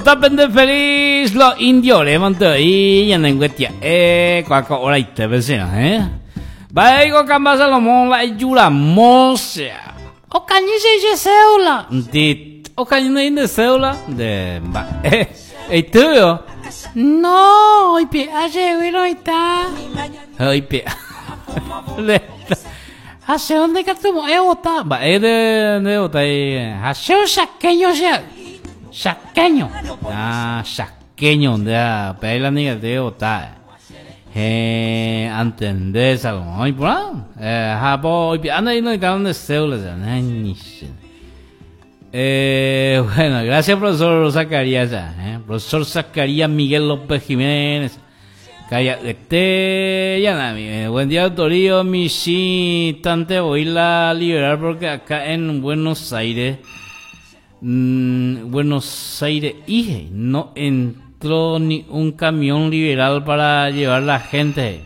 Pende feliz lo indio remante oĩ ñane nguetia'e ko'ã ko horaitépe serã eh. Mba'éiko Kamba Salomón la ejuramo sea. Okañy che che cédula. Ndi okañy ndéi nde cédula nde mba'e eitýveo. No, oipe'a chégui roĩta. Ha oipe'a. Ha che ndikatumo'ãi ovota. Mba'e nde nde votái. Ha che chaqueño che a'y. Chaqueño. Ah, chaqueño nde ha upéi la ndikatúi ovota. Héẽ, antende Salomón. Iporã. Eh, ha po oipe'a ndéi noĩtárõ nde cédula che. Néiche. Eh, bueno, gracias profesor Zacarías. Eh. Profesor Zacarías Miguel López Jiménez. Karia'yete ñanami. Buen día, Toribio. Michĩ tante voy la liberal porque acá en Buenos Aires, mm, Buenos Aires ije, no entró ni un camión liberal para llevar la gente.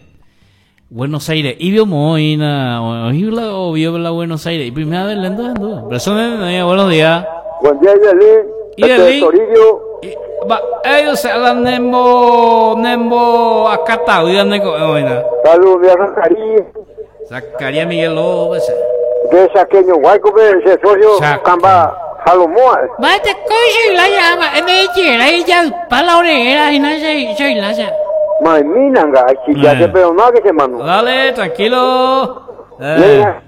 Buenos Aires, y vio moina, oí la o vio la Buenos Aires, y primera vez lento, lento. Persona, buenos días. Buen día, Yelí. Yelí. Este Toribio. Va, ellos se hablan nembo, nembo, acá está, neko, oina. Saludos, mi Zacarías. Zacarías Miguel López. De Chaqueño Guayco, ese socio Chaque. Camba Salomón. Mba'ete kóicha ilaya, mba'e nde'ichera ijaypa la ore'éra hína che che ilaya. Maimínanga, ya Eh. se perdonó que se mano. Dale, tranquilo. Eh. Mira,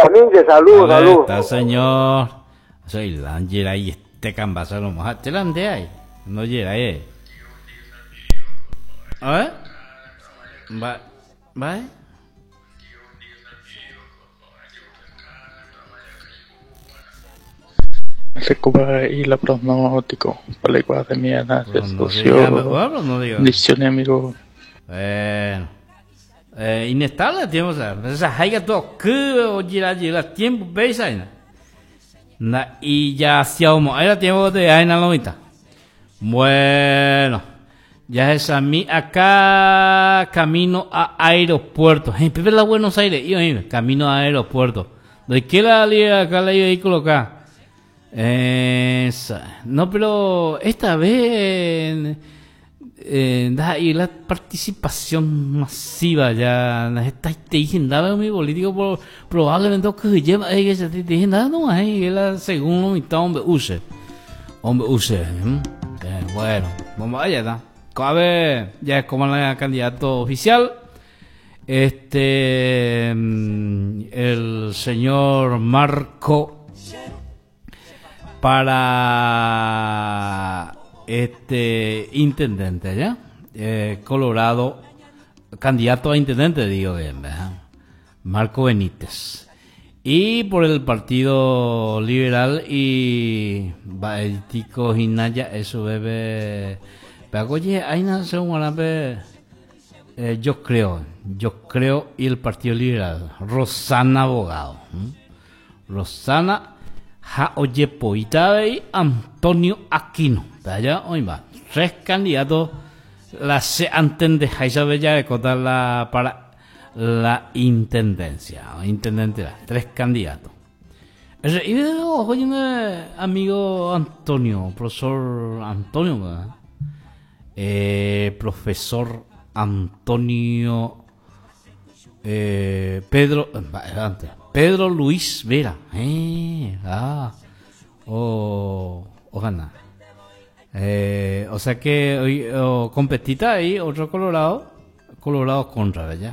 Aminte, saludos, Dale, saludos. Está, señor. Soy la y este camba Salomón. Ah, te la andé ahí. No llega eh. A ver. Va, va. Recupera la pronóstico, película de mierda, No, no socio, diga, bueno, no diga. bendiciones, amigo. Bueno. Inestable tiempo, o sea, esa haiga todo que o gira gira tiempo veis ahí. Na y ya hacíamos, era tiempo de ahí na lomita. Bueno, ya es a mí acá camino a aeropuerto. Hey, Pepe la Buenos Aires, y oíme, camino a aeropuerto. ¿De qué la liga acá la vehículo acá? Esa. No, pero esta vez da y la participación masiva ya esta te dije nada mi político por, probablemente que lleva que se te dije nada no hay la según mitad hombre use hombre use bueno vamos allá está cabe ya es como la candidato oficial este el señor Marco para este intendente ya Colorado candidato a intendente digo bien ¿verdad? Marco Benítez y por el Partido Liberal y Baetico Hinaya eso bebe pero oye ahí nace un guanape yo creo y el Partido Liberal Rosana Abogado ¿m? Rosana ha ojepoíta y Antonio Aquino. Allá hoy va. Tres candidatos la se antende Bella de contar la para la intendencia. Intendente, tres candidatos. Y oye, amigo Antonio, profesor Antonio, ¿verdad? Profesor Antonio Pedro, antes, Pedro Luis Vera. Ah, o, ojalá. O sea que hoy o competita ahí otro Colorado, Colorado contra, ¿verdad?